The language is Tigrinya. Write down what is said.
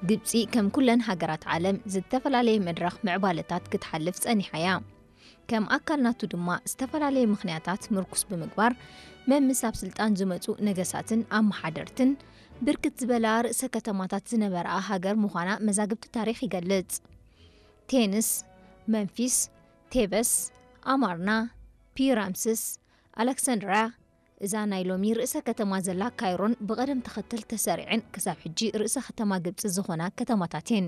ግብጺ ከም ኩለን ሃገራት ዓለም ዝተፈላለየ መድረኽ ምዕባለታት ክትሓልፍ ጸኒሓ እያ። ከም ኣካል ናቱ ድማ ዝተፈላለየ ምኽንያታት ምርኩስ ብምግባር መምስ ኣብ ስልጣን ዝመጹ ነገሳትን ኣመሓደርትን ብርክት ዝበላ ርእሰ ከተማታት ዝነበረኣ ሃገር ምዃና መዛግብቲ ታሪኽ ይገልጽ። ቴንስ፣ መንፊስ፣ ቴበስ፣ ኣማርና፣ ፒራምስስ፣ ኣሌክሳንድርያ፣ እዛ ናይ ሎሚ ርእሰ ከተማ ዘላ ካይሮን ብቐደም ተኸተል ተሰሪዐን ክሳብ ሕጂ ርእሰ ከተማ ግብጺ ዝኾና ከተማታት እየን።